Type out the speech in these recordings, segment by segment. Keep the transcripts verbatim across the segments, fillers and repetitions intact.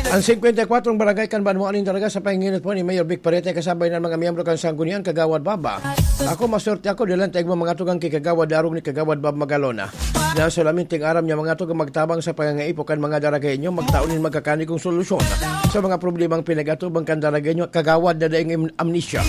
Ang singkwenta y kwatro barangay kan banwaan nin Daraga sa panginginot po ni Mayor Vic Perete kasabay ng mga miyembro kan Sanggunian, Kagawad Baba. Ako, maswerte ako, dahil ang taig mo mga tugang ki Kagawad Darong ni Kagawad Bab Magalona. Na solamente ang aram niya mga tugang magtabang sa pangangaipo kan mga Daragenyo, magtaon nin magkakanigong solusyon sa mga problemang pinag-atubang kan Daragenyo, Kagawad na daing im-, amnesia.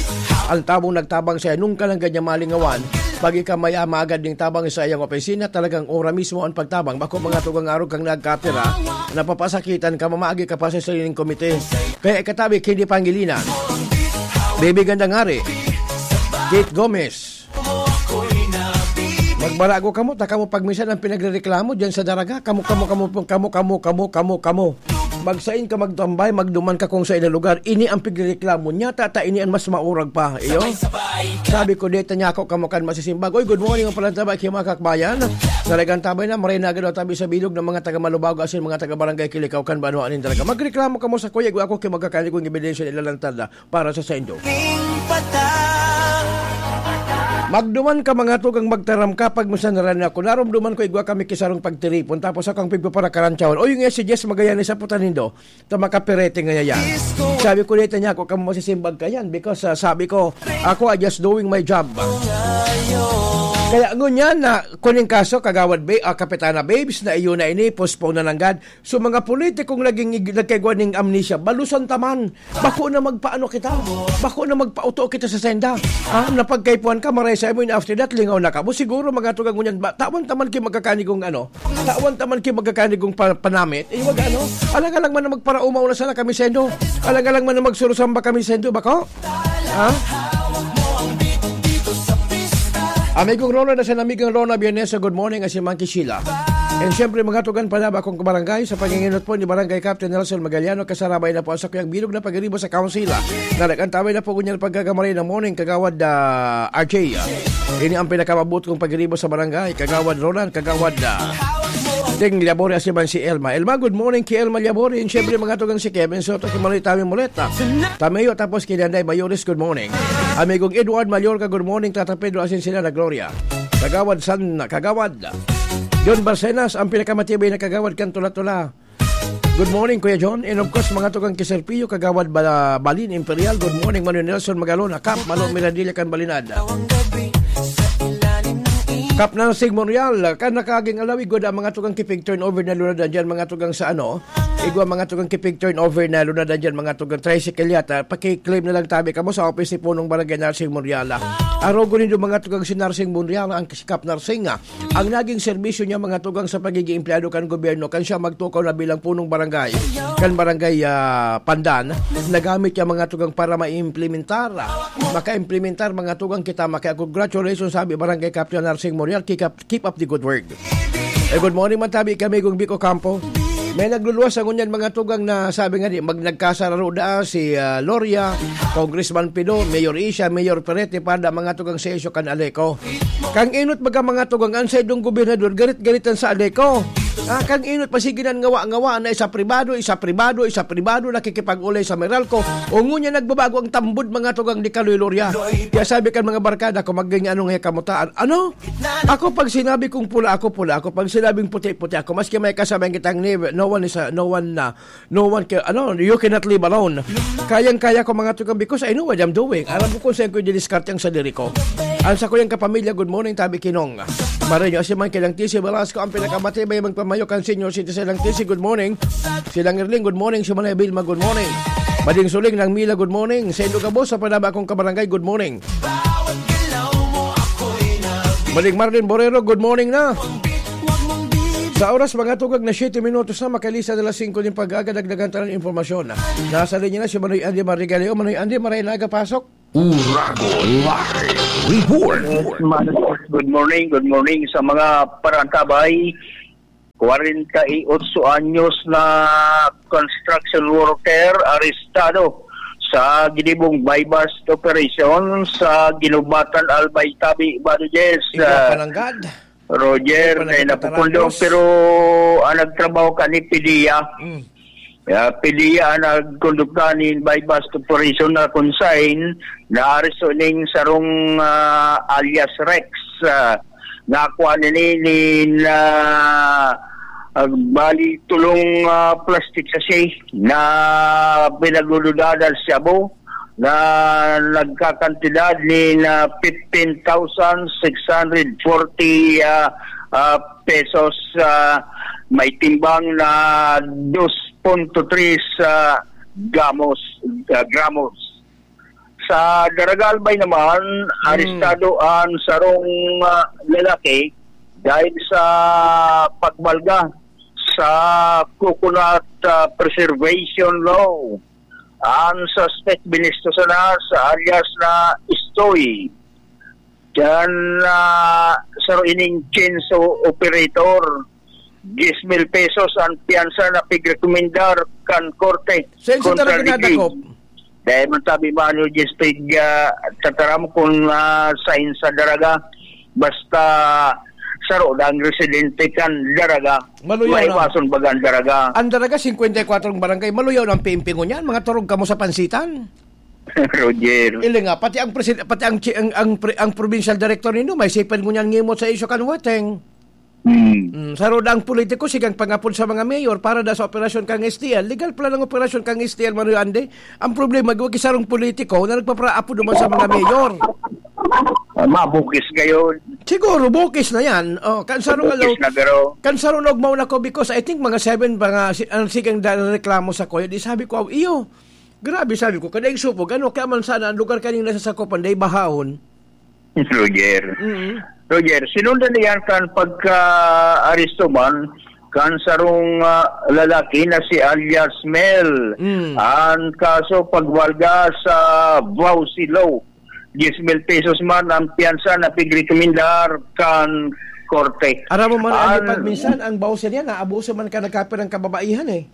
Ang tabong nagtabang sa'yo, nung ka lang ganyan malingawan, pag ika maya maagad ning tabang sa iyang opisina, talagang ora mismo ang pagtabang. Bako mga tugang arog kang nagkapira, napapasakitan ka, mamaagi ka pa sa sariling komite. Kaya ikatabi, hindi pangilinan. Baby Gandang Hari, Kate Gomez. Magbarago kamo, ta kamo pag minsan ang pinagrereklamo diyan sa Daraga. Kamo, kamo, kamo, kamo, kamo, kamo, kamo, kamo. Magsain ka magtambay, magduman ka kung sa ilang lugar. Ini ang pigrereklamo niya, tata, ini ang mas maurag pa. Iyo? Sabi ko, deta niya ako, kamo kan masisimbag. Oy, good morning, ang palantabay, kiyo mga kakbayan. Nalagang tabay na, maray na agad tabi sa bilog ng mga taga Malubago, asin mga taga Barangay Kilikaw, kan banwaan nin Daraga. Magreklamo kamo sa kuya, ako, kay magkakaligong ebidensya nila lang tada para sa saindo. Magduman ka, mga tugang, magtaram ka, pag minsan narani ako, narumduman ko, igwa kami kisarong pagtiripon, tapos ako ang pigpaparakarantsahon. O, yung S C J S, magayan sa puta nindo, ta makaperete nga yan. Sabi ko, dito niya ako, kamo masisimbag ka yan, because, ah, sabi ko, ako, I just doing my job. Kaya ngunyan na, kuning kaso, Kagawad Ba-, ah, Kapitana Babes, na iyo na ini, postpone na nanggad. So, mga politikong naging ig-, nagkaigwa ning amnesia, balusan taman. Bako na magpaano kita. Bako na magpauto kita sa senda. Ah, napagkaipuhan ka, maray sa imo, and after that, lingaw na ka. Mo siguro, mga tugang ngunyan, ba, tawan taman ki magkakanigong ano, tawan taman ki magkakanigong pa-, panamit. Eh, wag ano, alang-alang man na magparaumaw na sana kami sendo. Alang-alang man na magsurusamba kami sendo, bako? Ha? Amigong Rona na sa Amigang Rona Bienes, good morning, asin Monkey Sheila. And syempre, mga tugan pa na ba akong barangay sa panginginot po ni Barangay Captain Nelson Magaliano, kasarabay na po ang sakuyang bilog na pagiribo sa Council. Nalagang tabay na po ngunyan pagkagamaray ng morning, Kagawad, ah, R J. Ini ang pinakamabot kong pagiribo sa barangay, Kagawad Ronan, Kagawad, ah, Ding Labore, asiman si Elma. Elma, good morning kay Elma Labore. And syempre, mga tugang si Kevin Soto, kay Manoy Tami Muleta. Tameo, tapos kay Danday Mayores, good morning. Amigong Edward Mallorca, good morning. Tata Pedro, asin sila na Gloria. Kagawad San, Kagawad John Barcenas, ang pinakamatibay na kagawad kan Tula-Tula. Good morning, Kuya John. And of course, mga tugang ki Sir Pio, Kagawad Ba-, Balin Imperial. Good morning, Manuel Nelson Magalona. Kap, Malo Mirandilla kan Balinad. Kap Narsing Monreal, kan nakaging alawi, good ang mga tugang kipig turnover na luna dyan, mga tugang sa ano, igwa mga tugang kipig turnover na luna dyan, mga tugang tricycle yata. Paki-claim na lang tabi kamo sa office ni Punong Barangay Narsing Monreal. Arogo nindo mga tugang si Narsing Monreal, ang si Kap Narsing, ah. Ang naging serbisyo niya, mga tugang, sa pagiging empleyado kan gobyerno, kan siya magtukaw na bilang punong barangay, kan barangay, ah, Pandan, nagamit niya, mga tugang, para maimplementar, ah, maka-implementar, mga tugang, kita maka-, congratulations, sabi Barangay Captain Narsing Morial, keep up, keep up the good work. Eh, good morning man tabi kami, Gung Vic Ocampo. May nagluluwas sa ngunyan, mga tugang, na sabi nga di, mag-, nagkasararo da si, ah, Loria, Congressman Pido, Mayor Isha, Mayor Perete, pada mga tugang sa isyo kan Aleco. Kang inot baga mga tugang an saindong gobernador, garit-garitan sa Aleco. Ah, kang inot pa sige nan ngawa-ngawa na isa pribado, isa pribado, isa pribado, nakikipag-ulay sa Meralco. O ngunya nagbabago ang tambod mga tugang ni Kaloy Loria. Kaya sabi kan mga barkada ko, maging anong hekamutaan. Ano? Ako pag sinabi kong pula ako, pula ako. Pag sinabing puti, puti ako. Maski may kasabay kitang neighbor, no one is a, no one na, no one can, ano, you cannot live alone. Kayang-kaya ko mga tugang because I know what I'm doing. Alam ko kung saan ko didiskarte ang sadiri ko. Ang sa kuyang kapamilya, good morning, tabi kinong. Marinyo, si man kilang T C Velasco, ang pinakamatibay magpamayo kan senior citizen ng T C, good morning. Silang Erling, good morning. Si Manay Vilma, good morning. Mading Suling ng Mila, good morning. Sa Indugabo, sa Panaba, akong kabarangay, good morning. Maling Marlin Borero, good morning na. Sa oras, mga tugag na siyete minutos na, makalista na alas singko nin pag-aga, dagdagan tayo ng impormasyon. Nasa linya na si Manoy Andy Marigaleo. Manoy Andy, maray na aga pasok. Uragon Live Report. Good morning, good morning sa mga parantabay. Kwarenta y otso anyos na construction worker arestado sa ginibong buy-bust operation sa Ginubatan, Albay, Tabi, Baduges. Ikaw, ah, Pananggad. Roger, Ikaw, kay Pananggad, napupundong, Tatarapos. Pero ang nagtrabaho ka ni Pidia. Mm. Ya, Pidia ang nagkondukta nin buy-bust operation na kung saan naaresto ning sarong, ah, alias Rex, ah, nakuha nini nin, ah, Ah, bali, tulong, ah, plastic sachet na pinagdududahan sa shabu na nagkakantidad ni na fifteen thousand six hundred forty, ah, ah, pesos, ah, may timbang na dos punto tres, ah, gamos, ah, gramos. Sa Daraga, Albay naman, Hmm. arestado ang sarong, ah, lalaki dahil sa pagbalga sa coconut, ah, preservation law. Ang suspect, binutusan na sa alias na Istoy. Diyan, ah, saro ining chainsaw operator. Diyes mil pesos ang piyansa na pigrekomendar kan korte Sa insan kontra talaga digdi. Nadakop? Dahil man sabi, Mano Diyes, pig, ah, tataram kung, ah, sa insa Daraga. Basta saro na ang residente kan Daraga. Maluyaw na. Maiwason baga ang Daraga. Ang Daraga, singkwenta y kwatro ang barangay. Maluyaw na ang P N P ngunyan. Mga turog kamo sa pansitan. Roger. Ili nga, pati ang presid-, pati ang chi-, ang, ang pre-, ang provincial director nindo, may sipil ngunyan ngimot sa isyu kan Weteng. Hmm. Mm, saro na ang politiko, sigang pangapod sa mga mayor para da sa operasyon kang S T L. Legal pala ang operasyon kang S T L, Mario Andy. Ang problema, gawag sarong politiko na nagpapaapod naman sa mga mayor. Ah, mabukis kayo. Siguro, bukis na yan. Oh, kan sarong Bukis alaw-, na garo. Kan sarong nagmaon ako because I think mga seven, mga si-, ang sigang da-, reklamo sa kuya. Di sabi ko, "Aw, iyo." Grabe, sabi ko, "Kada yung supog, ano, kaya man sana ang lugar kaning nasasakupan, dahil bahaon." Roger. Mm. Roger, sinundan na yan kan pagka-aresto man kan sarong, ah, lalaki na si alias Mel. Mm. Ang kaso, pagwalga sa Vaucilo. Diyes mil pesos man ang piyansa na pigrekomendar kan korte. Aram mo man, Andy, An- pag minsan, ang bawsi niya, naabuso man ka nagkapirang kababaihan eh.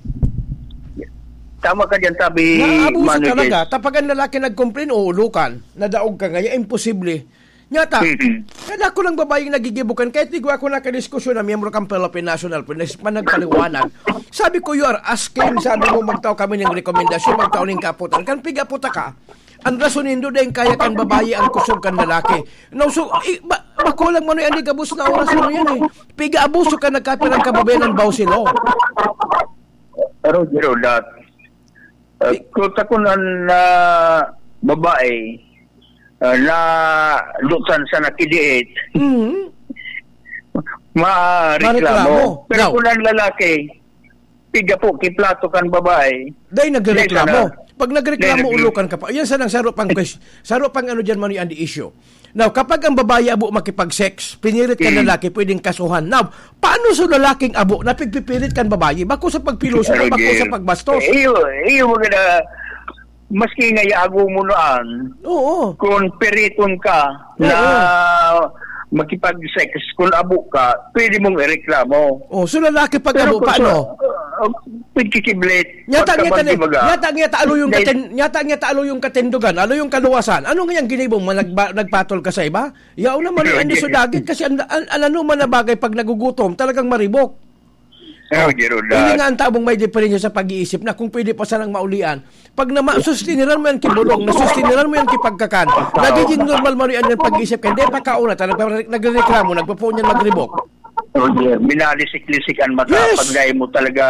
Tama ka dyan, sabi Naabuso Mano talaga. Jess. Tapag ang lalaki nag-complain, uulukan. Nadaog ka ngaya, imposible. Nyata, Mhm. kada ako lang babaeng nagigibukan, kahit di ko ako nakadiskusyon na miyembro kang Philippine National Police, pa nagpaliwanag. Sabi ko, "You are asking," sabi mo, "magtao kami ng rekomendasyon, magtao ng kaputan." Kan pigaputa ka, ang rason nindo dahil kaya kan babae ang kusog kan lalaki. No, so, i-, ba, bako lang man yan, di gabos na oras mo yan eh. Piga-abuso ka, nagkapirang kababayan ng Bausi Law. Pero, Gerald, ah, Pi- kung takon ang, ah, babae, ah, na dutan sa nakidiit, Mhm. mareklamo. Mareklamo. Pero Now, kung ang lalaki, piga po, kiplato kan babae, Dahil nagrereklamo. dahil sana Pag nagreklamo, dahil nag- ulo kan kapa-, yan sana ang saro pang quest-, saro pang ano dyan, Manoy Andy, issue. Now, kapag ang babae abo makipag-sex, pinilit ka Mm. lalaki, pwedeng kasuhan. Now, paano sa lalaking abo na pigpipilit kan babae? Bako sa pagpiloso, Roger. bako sa pagbastos. Eh, iyo, iyo, maganda. Maski nga yago mo noon, Oo. kung piriton ka Oo. na makipag-sex, kung abo ka, pwede mong ireklamo. Oh, so lalaki pag Pero abo, kung paano? sa, uh, pagkikiblit, Nyata, nyata, pagkabagbaga, nyata, nyata, alo yung dahil katin-, nyata, nyata, alo yung katindugan, alo yung kaluwasan. Ano nga yung ginibo mo? Nagba-, nagpatol ka sa iba? Yaw naman, Pero hindi hindi. so dagit kasi ang, ang, ang ano man na bagay pag nagugutom, talagang maribok. Pero, Gerald, Hindi ah, nga ang tabong may diferensya sa pag-iisip na kung pwede pa sanang maulian. Pag na ma-, sustiniran mo yan kibulong, na sustiniran mo yan kipagkakan, nagiging normal mo rin ang pag-iisip ka. Hindi, pagkauna, talaga nagre-, nagrereklamo, nagpupuon yan magribok. Roger, minalisik-lisik ang mata Yes. pag dahil mo talaga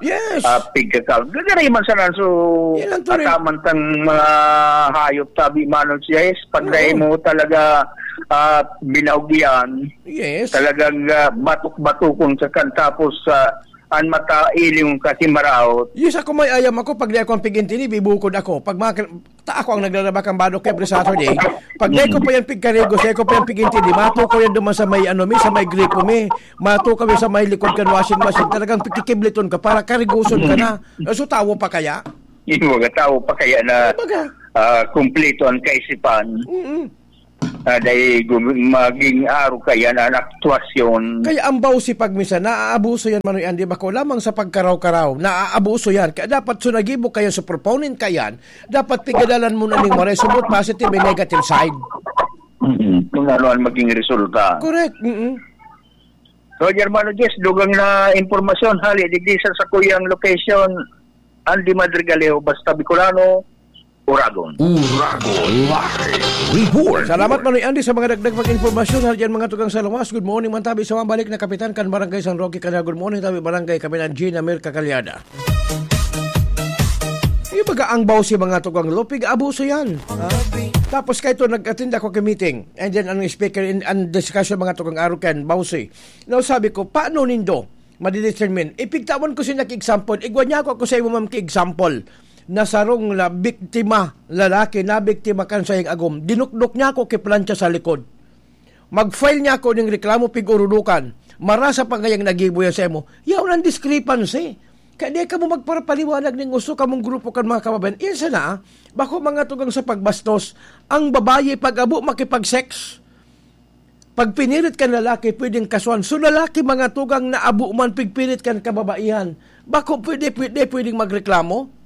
Yes. ah, pigkakaw. Gagari man sana, so, Yan ang turing. Ataman tang mga hayop, sabi Manong Jess, pag Oo. dahil mo talaga ah, binaog yan, Yes. talagang ah, batok-batokon ka kan, tapos ah, ang mata iling kasi maraot. Yes, ako may ayam ako, pag di ako ang pigintini, bibukod ako. Pag mga, ta ako ang naglalaba kan badok every Saturday, pag di ko pa yan pigkarigo, di ko pa yan pigintini, mato ko yan duman sa may, ano, mi, sa may gripo, mi. Mato kami sa may likod kan washing machine. Talagang pikikibliton ka para kariguson ka na. So, tawo pa kaya? Yung mga tao pa kaya na Baga. ah, kumpleto ang kaisipan. Mm-mm. Ah, dahil gum-, maging aro kaya na ang aktuasyon. Kaya ang bawsi pag minsan, naaabuso yan, Manoy Andy, bako lamang sa pagkaraw-karaw. Naaabuso yan. Kaya dapat sunagibo kayo sa proponent ka yan, dapat pigadalan mo na ning maray, subot positive and negative side. Mm-mm. Kung ano ang maging resulta. Correct. Mm-mm. Roger Mano Jess, dugang na impormasyon, hali, digdi sa sakuyang location, Andy Madrigalejo, basta Bicolano, Uragon. Uragon Live Report. Salamat, Manoy Andy, sa mga dagdag pag-impormasyon. Hali dyan, mga tugang sa lawas. Good morning, man tabi sa mga balik na kapitan kan Barangay San Roque, Canal. Good morning, tabi Barangay Kapitan Gina Mel Cacalyada. Yung baga ang baw si mga tugang lupig, abuso yan. Ha? Tapos kayo ito, nag-attend ako kay meeting. And then, ang speaker in, and discussion, mga tugang arukan, bawsi. Now, sabi ko, paano nindo madidetermine? Ipigtawan ko siya ki-example. Igwa niya ako, ako sa imo, ma'am, ki-example na sarong na biktima, lalaki na biktima kan sa iyang agom. Dinukdok niya ako ki plancha sa likod. Mag-file niya ako ning reklamo, pig-urudukan. Marasa pa ngayang nagibo yan sa imo. Yaon ang discrepancy. Kaya di ka mo magparapaliwanag ning uso kamong grupo kan mga kababayan. Yan sana, ah. Bako mga tugang sa pagbastos. Ang babayi pag-abo makipag-sex. Pag pinirit kan lalaki, pwedeng kasuhan. So, lalaki, mga tugang na abo man, pigpirit kan kababaihan. Bako pwede, pwede, pwedeng magreklamo?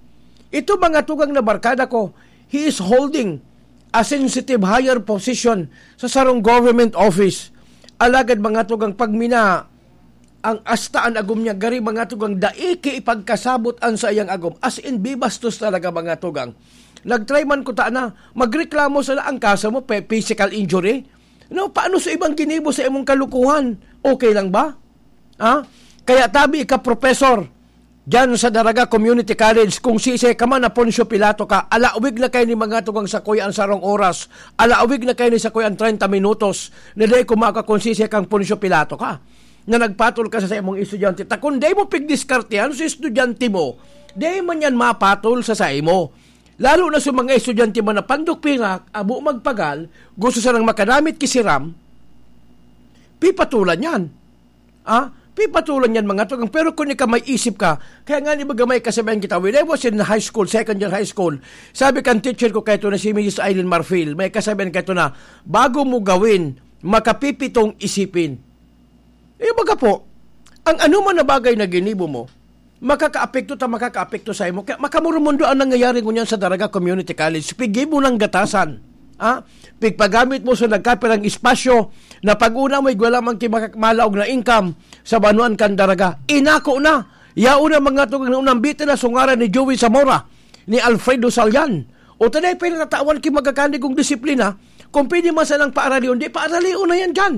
Ito, mga tugang na barkada ko, he is holding a sensitive higher position sa sarong government office. Alagad, mga tugang, pag mina, ang asta an agom niya, gari, mga tugang, dai ki ipagkasabot an saiyang agom. As in, bibastos talaga, mga tugang. Nagtry man ko ta na, magreklamo sila ang kaso mo, pe-, physical injury. No, paano sa ibang ginibo sa imong kalukuhan? Okay lang ba? Ha? Kaya tabi ka, professor, diyan sa Daraga Community College, kung sisay ka man na Poncio Pilato ka, alawig na kayo ni mga tugang sakuya ang sarong oras, alawig na kayo ni sakuya ang treinta minutos, na dai kumaka kung sisay kang Poncio Pilato ka, na nagpatol ka sa, sa imong estudyante. Ta kung dai mo pigdiskartehan sa estudyante mo, dai man yan mapatol sa, sa imo. Lalo na sa mga estudyante man na pandok pirak, abo magpagal, gusto sanang makanamit kisiram, pipatulan yan. Ah, pipatulan yan, mga tugang. Pero kung ikaw may isip ka, kaya nga, di ba, may kasabihan kita, when I was in high school, second year high school, sabi kan teacher ko kaito na si Missus Eileen Marfil, may kasabihan kaito na, bago mo gawin, makapipitong isipin. Eh, baga po, ang anuman na bagay na ginibo mo, makakaapekto ta, makakaapekto sa imo. Kaya makamurumundo ang nangyayari ngunyan sa Daraga Community College. Pigi mo ng gatasan. Ha? Pigpagamit mo sa nagkapirang espasyo na pag-una mo, igwa lamang ki maka-, malaog na income sa banwaan kan Daraga. Inako na! Yaon na mga tugang na unang bitin na sungaran ni Joey Zamora, ni Alfredo Salian. O tanay pa yung natawan ki magkakanigong disiplina, kung pwede man sanang paaralion, di paaralion na yan dyan.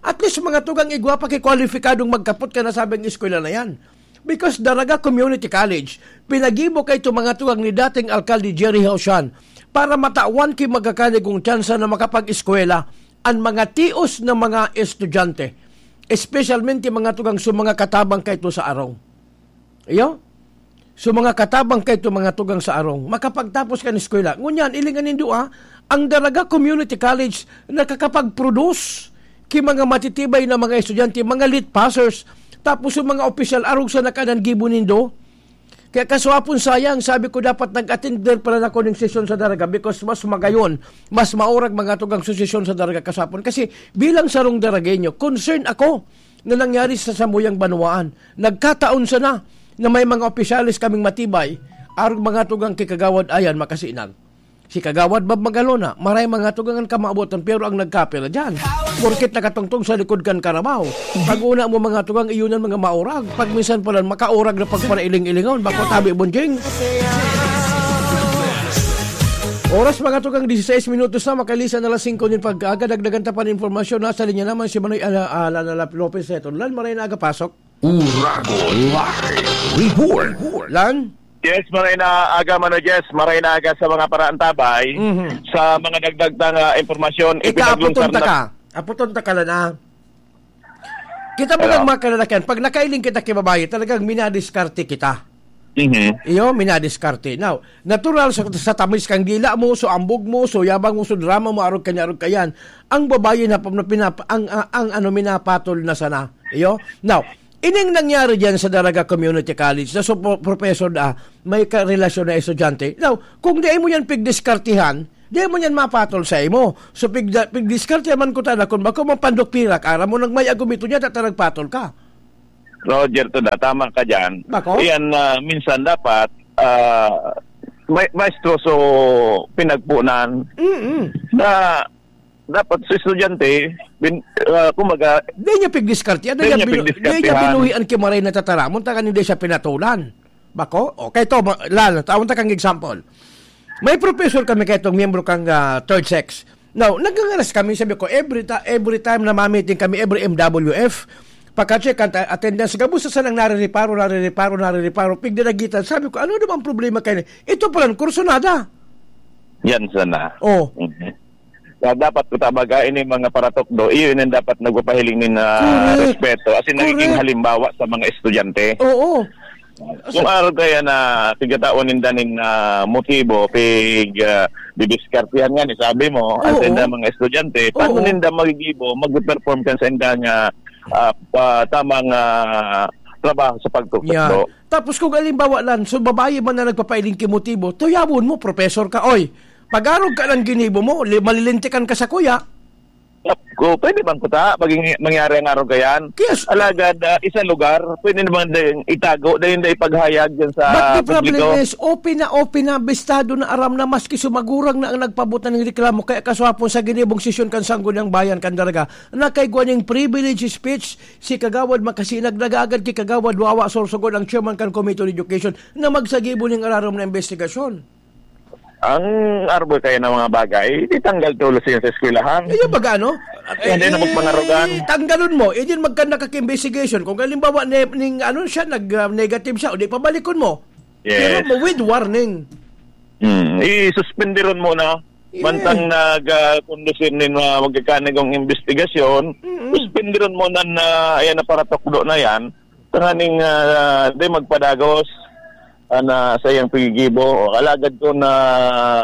At least mga tugang igwa pa ki kwalipikadong magkapot ka na sabing eskwela na yan. Because Daraga Community College, pinagibo kay ito mga tugang ni dating Alkalde Jerry Hausian para matawan ki magkakanigong tsansa na makapag-eskwela an mga tios na mga estudyante, especialmente mga tugang sa mga katabang kay ito sa arong. Iyo? So, mga katabang kaito, mga tugang sa arong, makapagtapos kan eskwela. Ngunyan, ilingan nindo, ah, ang Daraga Community College nakakapag-produce ki mga matitibay na mga estudyante, mga lit passers, tapos yung mga opisyal, arog sa nakanan gibo nindo. Kaya kaswapon, sayang, sabi ko, dapat nag-attend din pala na kuning sesyon sa Daraga because mas magayon, mas maurag mga tugang sa sesyon sa Daraga kaswapon. Kasi bilang sarong Daragenyo, concern ako na nangyari sa samuyang banwaan. Nagkataon sana na may mga opisyales kaming matibay, arog mga tugang ki Kagawad Ayan Makasinag. Si Kagawad Bob Magalona, maray mga tugang an kamawotan, pero ang nagkapira diyan, porket nakatungtong sa likod kan karabaw. Pag una mo mga tugang, iyon ang mga maurag. Pag minsan pala, makaurag na pagparailing-ilingon. Bako tabi, Bonjing. Oras mga tugang, dieciséis minutos na, makalisan na alas singko nin pag-aga. Dagdagan ta pa ng impormasyon. Nasa linya naman si Manoy Ala-, Alan Alap Lopez Seton. Lan, maray na aga pasok. Uragon Live Report. Lan? Yes, maray na aga, Mano Jess. Maray na aga sa mga paraantabay. Mhm. Sa mga dagdag na, ah, impormasyon, Ika, ipinaglungsad aputon ta na ka. Aputon ta ka, Lan, ah. Kita mo Hello? lang mga kalalakihan, pag nakailing kita kay babae, talagang minadiskarte kita. Mhm. Iyo, minadiskarte. Now, natural sa, sa tamis kang dila mo, so ambog mo, so yabang mo, so drama mo, arog kanya, arog kayan. Ang babae na, na pinap-, ang, ang, ang ano, minapatol na sana. Iyo? Now, ining nangyari diyan sa Daraga Community College, na so, pro-, professor na, may karelasyon na estudyante. Now, kung di mo yan pigdiskartihan, di mo yan mapatol sa imo. So, pigda-, pigdiskartihan man ko tana, kung bako man pandok pirak, aram mo nang may agumito niya, tata nagpatol ka. Roger, to na, tama ka dyan. Bako? Ayan, ah, minsan dapat, ah, may, maestro, so, pinagpunan Mm-mm. na dapat sa estudyante, bin-, ah, kumbaga, Di niya pigdiskarte. Di niya niya binu-, pigdiskarte di niya yan. binuhian ki maray na tataramon, takan hindi siya pinatulan. Bako? Okay, to, ma-, Lal, tawon ta kang example. May professor kami kaitong miyembro kang, ah, third sex. Now, nagangaras kami, sabi ko, every ta-, every time na ma-meeting kami, every M W F, pagka-check ang ta-, attendance, gabos sa sanang narireparo, narireparo, narireparo, pigdadagitan. Sabi ko, "Ano naman problema kayo?" Ito palan, kursunada. Yan sana. Oh. Mhm. Kaya dapat kutabaga ini mga paratukdo, iyo ini dapat nagpapahiling nin, ah, Correct. respeto. As in, nagiging Correct. halimbawa sa mga estudyante. Oo. Kung araw kaya na pigataon ninda nin, ah, motibo, pig, ah, didiskartehan nga ni sabi mo, ang Oo. sa inda mga estudyante, paano Oo. ninda magigibo, mag-perform kan sa inda nga, ah, pa, tamang, ah, trabaho sa pagtutukdo? Yeah. Tapos kung halimbawa lang, so babae man na nagpapailing ki motibo, tuyawon mo, professor ka, oy, pag-arog ka ng ginibo mo, li-, malilintikan ka sa kuya. Ko, pwede bang kuta? Maging, mangyari ang araw kayan? Yes. Alagad, ah, isa lugar, pwede naman din itago, dahil hindi ipaghayag dyan sa But the problem publiko. is, open na open na, bistado na, aram na, maski sumagurang na ang nagpabutan ng reklamo, kaya kaswapon sa ginibong sesyon kan Sangguniang Bayan kan Daraga, na kay gwaning privilege speech, si Kagawad Makasinag nag-aagad kay Kagawad Wawa Sorsogon, ang chairman kan Committee on Education, na magsagibo ning ararom na investigasyon. Ang arbol kayo ng mga bagay, itanggal tulos yan sa eskwelahan. Ayun, baga, ano? Hindi na magpangarugan. Eh, tanggalon mo. Eh, din magkanda ka investigation. Kung halimbawa, ne-, ning, ano siya, nag, ah, negative siya, o di pabalikon mo. Yes. Pero mo with warning. Hmm. Isuspendiron mo na. Yes. Mantang nag, ah, conducir nin mga magkakanigong investigasyon, Mm-mm. suspendiron mo na, na, ayan, na paratukdo na yan. Tanganing, ah, di magpadagos, ah, na sa iyang paggigibo, o alagad ko na,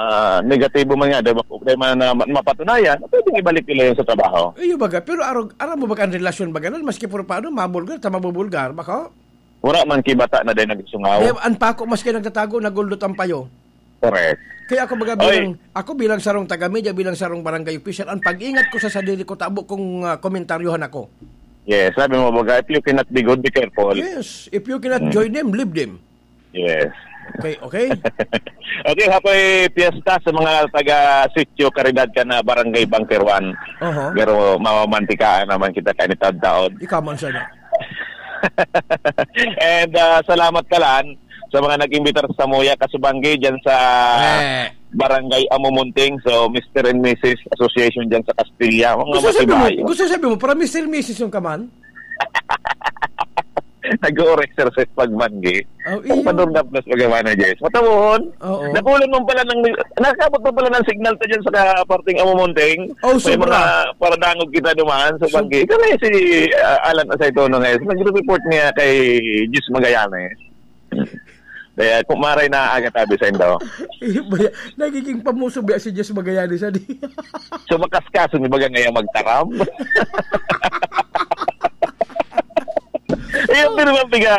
ah, negatibo man nga, di ba, di man na ma-, mapatunayan, pwedeng ibalik nila yun sa trabaho. Iyo baga, pero arog, aram mo ba ang relasyon ba ganun? Maski puro paano, mabulgar, ta mabubulgar, bako? Wala man kibata na din nagsungaw. Di, ang pako, maski nagtatago, naguldot ang payo. Correct. Kaya ako baga Oy. bilang, ako bilang sarong taga-media, bilang sarong barangay official, ang pag-ingat ko sa sadiri ko, tabo kung, ah, komentaryohan ako. Yes, sabi mo baga, if you cannot be good, be careful. Yes, if you cannot Mm. join them, leave them. Yes. Okay, okay? Okay, happy fiesta sa mga taga Sitio Caridad ka na Barangay Bunker One. Oho. Pero mamamantikaan naman kita kaini taon-taon. Ikaw man sana. And, ah, salamat kalan sa mga nag-imbitar sa Muya Kasubanggi dyan sa Eh. Barangay Amumunting. So, Mister and Missus Association dyan sa Castilla. Mga Gusto sabi mo, matibayo. gusto sabi mo, para Mister and Missus yung kaman? Nag-o-exercise pag manggi. Oh, Ang iyo. padurga plus pag managers. Matawon. Oo. Nakulang mo pala ng, nakakabot mo pala ng signal ta dyan sa ka-, parting Amumunting. Oh, May sobra. mga paradangog kita dumaan sa So, banggi. Kami si, ah, Alan Asaytono ngayon. Nagre-report niya kay Jis Magallanes. Kaya kung maray na aga tabi sa indo. Iyo ba yan? Nagiging pamuso ba si Jis Magallanes, adi? So, makas-kaso ni baga ngayon magtaram? Iyo, pero man piga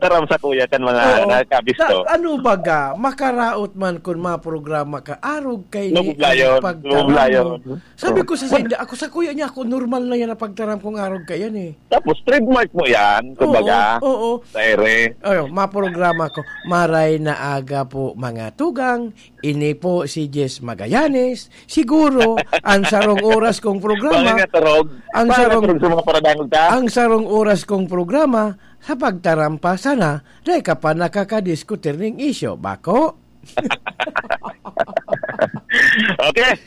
taram sa kuya kan mga Oo. nakakabisto. Ta-, ano baga, makaraot man kun maprograma ka, arog kay Nabublayon, ang pagtaram nabublayon. mo. Sabi Oo. ko sa Mag- senda, ako sa kuya niya, ako normal na yan ang pagtaram kong arog ka yan eh. Tapos, trademark mo yan, Oo, kumbaga, oo. sa ere. Ayo, maprograma ko. Maray na aga po, mga tugang. Ini po si Jess Magallanes. Siguro, ang sarong oras kong programa, Bakit nga turog? ang Bakit nga sarong, turog sa mga paradangog ta? ang sarong oras kong programa, sa pagtarampa sana, dahil ka pa nakakadiskutir ning isyo. Bako? Okay.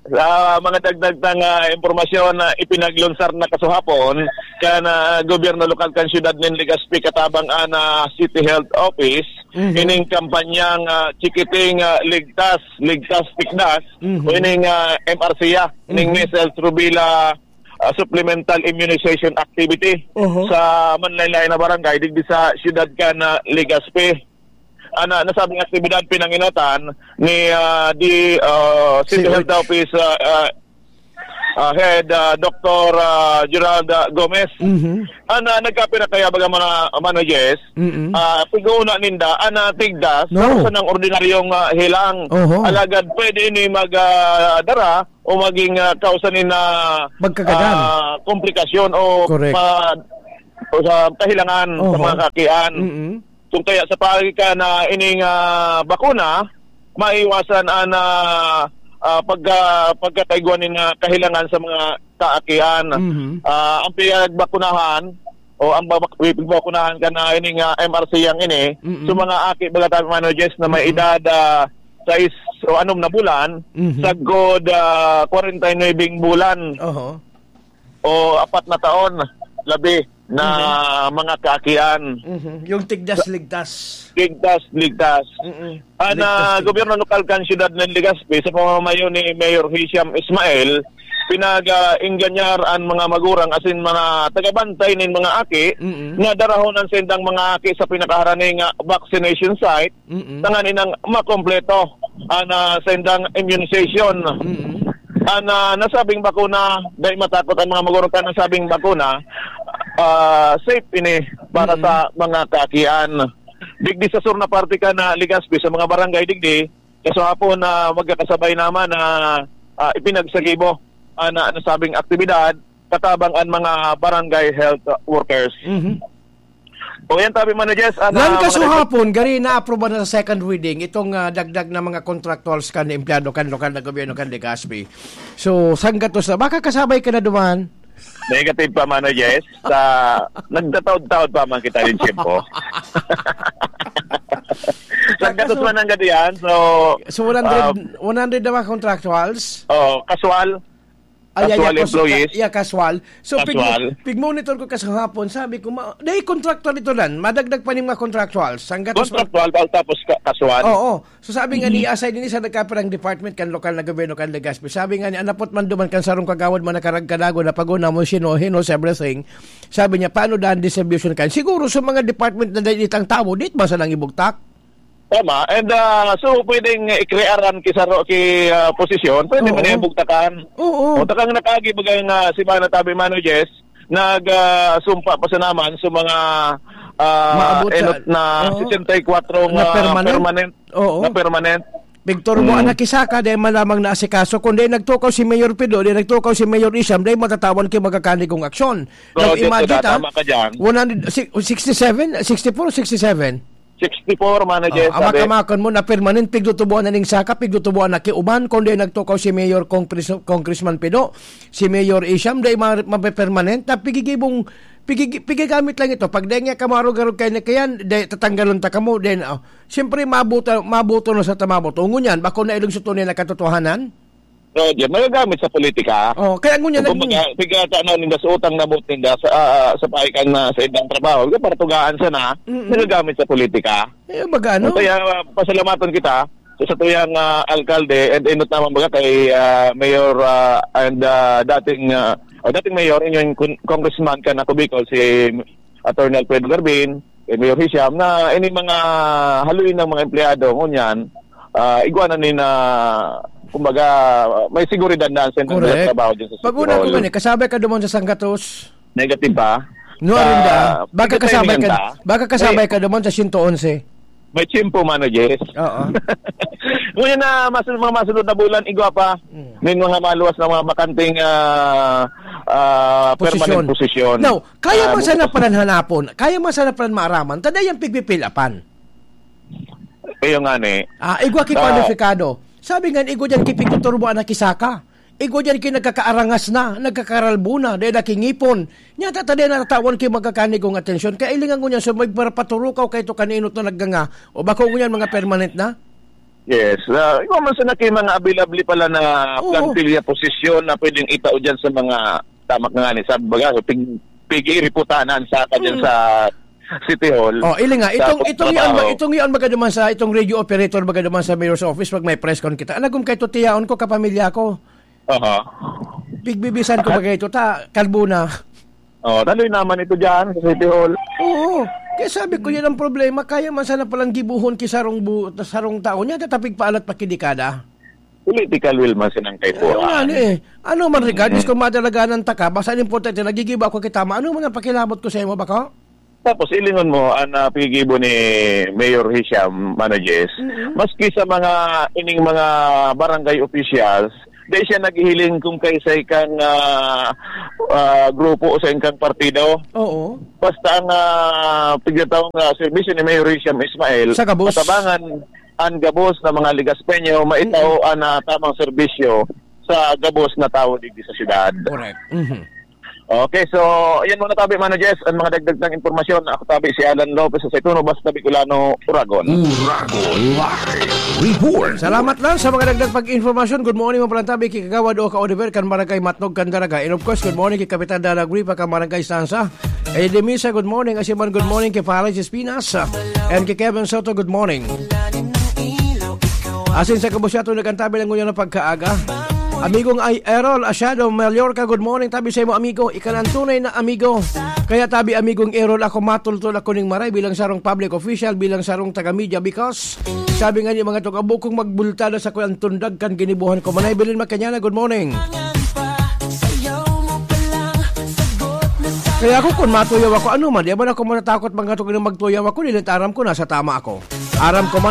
Sa mga dagdag tang, ah, impormasyon na ipinaglunsar na kasuhapon, kan, ah, gobyerno lokal kan siyudad nin Legazpi katabang an, ah, City Health Office, Mhm. ining kampanyang, ah, Chikiting, ah, Ligtas, Ligtas Tikdas, Mhm. o ining, ah, M R C A, ining Mhm. measles, rubella, ah, supplemental immunization activity Oho. sa manlain-lain na barangay digdi sa siyudad kan, ah, Legazpi. Ana, nasabing aktibidad pinanginotan ni, ah, di, ah, City C H. Health Office, ah, ah, ah, Head, ah, Doktor, ah, Gerald, ah, Gomez. Mhm. Ana, nagkapira kaya baga mga managers, Mm-mm. ah, pag-uuna ninda, ana, tigdas, No. sa nang ordinaryong, ah, hilang. Oho. Alagad, pwede ini mag, ah, dara o maging, ah, kausa nin, ah, Magkagadan. ah, komplikasyon o Correct. ma-, o sa kahilangan sa Oho. mga kakian. Mm-mm. Kung kaya sa pagi ka na ining, ah, bakuna, maiwasan an, ah, ah, pagka-, pagkataigwa nin, ah, kahilangan sa mga kaakian. Mhm. Ah, ang pinagbakunahan o ang babak-, bakunahan ka na ining, ah, M R C yang ini, Mm-mm. sa mga aki, baga tabi, managers na may Mm-mm. edad, ah, sais o anom na bulan, Mhm. sagkod, ah, kwarenta y nuwebeng bulan Oho. o apat na taon, labi na Mhm. mga kaakian. Mhm. Yung tigdas ligtas. Tigdas ligtas. Mm-mm. Ang, Ligtas ah, tigdas. gobyerno lokal kan siyudad ng Legazpi sa pamamayo ni Mayor Hisham Ismail, pinag-, ah, ingganyar an mga magurang asin mga tagabantay nin mga aki Mm-mm. na darahon an saindang mga aki sa pinakaharani nga vaccination site Mm-mm. tanganing makompleto an, ah, saindang immunization. Mm-mm. An, ah, nasabing bakuna, dai matakot ang mga magurang kan nasabing bakuna, ah, safe ini para Mm-mm. sa mga kaakian. Digdi sa sur na parte kan Legazpi, sa mga barangay digdi, kasuhapon na magkakasabay naman na, ah, ipinagsagibo ang, ah, nasabing aktibidad katabang ang mga barangay health workers. Mhm. O yan, tabi, Mano Jess, ang, Nang ah, mga kasuhapon, gari naaproba na sa second reading itong, ah, dagdag na mga contractuals kan empleyado kan lokal na gobyerno kan Legazpi. So, sanggatos na. Baka kasabay ka na duman? Negative pa, Mano Jess. Sa, nagtataod-taod pa man kita rin, tiyempo. Sanggatos Kaso, man ang gadiyan. So, so, one hundred, ah, one hundred na mga contractuals? Oo, kaswal. Ay, ay, Casual ay, kasu-, employees. ka-, yeah, casual. So, pig-, Casual. pig-monitor ko kasahapon, sabi ko, ma-, dai contractual ito dan, madagdag pa ning mga contractuals. Sanggatos pa. Contractual, tapos ka-, casual. Oo. So, sabi nga ni, Mhm. aside din sa nagkaparang department kan lokal na gobyerno kan Legazpi, sabi nga ni, anapot man duman kan sarong kagawad man nakaragkadago na pag-una mo, sino, he knows everything. Sabi niya, "Paano dan distribution kan?" Siguro sa mga department na dai itang tawo, di ba sa nang ibugtak? Tama. And, ah, so, pwedeng ikrearan ki saro-, ki, ah, posisyon, pwede Oo. man yung bugtakan. Oo. O, takang nakaagi, baga nga, si Mana Tabi Mano Jess, nag, ah, sumpa pa sa naman sa mga, ah, Maabot sa enot na Oo. sesenta y kuwatro Na nga permanent? permanent. Oo. Na permanent. Pigturbo Mm. ang nakisaka, dahil malamang naasikaso. Kung di nagtukaw si Mayor Pido, di nagtukaw si Mayor Isham, dahil matatawan ki magakanigong aksyon. So, Now, dito imagine, na, ah, tama ka dyan. one hundred, si-, sixty-seven, sixty-four, sixty-seven? Sixty-four, Mano Jess, Ah, sabi. Amak-amakon mo na permanent, pigtutubuan na ning saka, pigtutubuan na ki uban, kung di nagtukaw si Mayor Congress-, Congressman Pido, si Mayor Isham, dai ma-, mape-permanent, na pigigibong, pigigi-, pigigamit lang ito. Pag dai nga kamo arog-arog kay na kayan, dai tatanggalon ta kamo, then, oh, siyempre, mabuto, mabuto na sa tamabuto. Ngunyan, bako na ilong sa tunay na katotohanan? Roger, magagamit sa politika. Oh, kaya ngunyan, Kung nag- kumbaga, sige, sa ano, ninda sa utang na buot ninda sa, ah, ah, sa pahay kan, ah, sa indang trabaho, kaya paratugaan sana, Mm-mm. nagagamit sa politika. Eh, baga, ano? Kaya, ah, pasalamatan kita sa, sa tuyang, ah, alkalde and inot naman baga kay, ah, Mayor, ah, and, ah, dating, ah, o dating Mayor, inyong kun-, Congressman kan Ako Bicol, si Attorney Alfredo Garbin, kay Mayor Hisham, na ini mga haluin ng mga empleyado, ngunyan, ah, igwa na ni na, kumbaga, may seguridad na sa Correct. trabaho dyan sa City Pag-una ko Hall. man eh, kasabay ka duman sa sanggatos. Negative ba? No, Ah, Arinda. Baka negative kasabay ka, timing ka. baka kasabay Ay. ka duman sa siyento onse. May tiyempo, Mano Jess. Oo. Ngunyan na mas-, mga masunod na bulan, igwa pa. Mm. May mga maluwas na mga bakanting, ah, ah, Posisyon. permanent posisyon. Now, kaya Ah, man sana bukas. palan hanapon, kaya man sana palan maaraman, ta dai yan pigpipilapan. Kayo nga ni. Ah, igwa ki Ah. kwalifikado. Sabi nga, igwa dyan ki pigtuturbo na kisaka. Igwa dyan ki nagkakaarangas na, nagkakaralbo na, dai na ki ngipon. Nya, ta, ta, dai na natawan ki magkakanigong atensyon. Kaya ilingan ko niya, so, magparapaturukaw kayo to kaninot na nagganga. O bako ngunyan, mga permanent na? Yes. Ah, igwa man sana ki mga available pala na Oo. plantilla posisyon na pwedeng itao dyan sa mga, tama ka nga ni, sabi baga, so, pig-, pig-iriputanan sa ka dyan Mm. sa City Hall. Oh, ili nga, Sa itong, itong pagtrabaho. yan ba, itong yan baga naman sa, itong radio operator baga naman sa mayor's office pag may press con kita. Anagom kay to tiyaon ko, kapamilya ko. Aha. Pigbibisan ko Aha. baga ito, ta, kalbo na. Oh, taloy naman ito dyan sa City Hall. Oo. Kaya sabi ko, yan ang problema. Kaya man sana palang gibuhon ki sarong bu-, sarong tao niya, tatapig paalat pa ki dekada. Political will man sinang kay Ayun Puan. nga, ano eh. Ano man, regardless Mm. kung madalaganan ta ka, basta ang importante, nagigiba ako kitama. Ano man ang pakilabot ko sa imo, bako? Tapos, ilingon mo, ang, ah, pigibo ni Mayor Hisham Manages, Mm-mm. maski sa mga ining mga barangay officials, di siya naghihiling kung kay sa ikang, ah, ah, grupo o sa ikang partido. Oo. Basta ang, ah, pigataw nga serbisyo ni Mayor Hisham Ismail, Sa gabos. matabangan ang gabos na mga Ligaspeño, maitaw Mm-mm. ang, ah, tamang serbisyo sa gabos na tawo digdi sa syudad. Correct. Mhm. Okay, so, yan muna tabi, Mano Jess, ang mga dagdag ng impormasyon. Ako tabi, si Alan Lopez sa Saituno, Basta Bicolano, Uragon. Uragon Live Report. Salamat lang sa mga dagdag pag-informasyon. Good morning, mga palantabi, kay Kagawad Oka Oliver, kan Barangay Matnog, kan Daraga. And of course, good morning kay Kapitan Dana Agripa, kan Barangay Stanza. Eddie Misa, good morning. Asiman, good morning kay Faris Espinas. And kay Kevin Soto, good morning. Asin sa kabusyato, nagkantabi lang ngunyan ng pagkaaga. Amigong ay Errol Asiado, Mallorca, good morning. Tabi sa imo, amigo. Ika na ang tunay na amigo. Kaya tabi, amigong Errol, ako matultol ako ning maray bilang sarong public official, bilang sarong taga-media because sabi nga ni mga tugabo, kung magbultada sa kuyang tundag kan ginibuhan ko. Manay Bilin Macanyana, good morning. Kaya ako, kung matuyaw ako, ano man, di ba na ako matatakot mga tugabo na magtuyaw ako, dili aram ko, nasa tama ako. Aram ko man,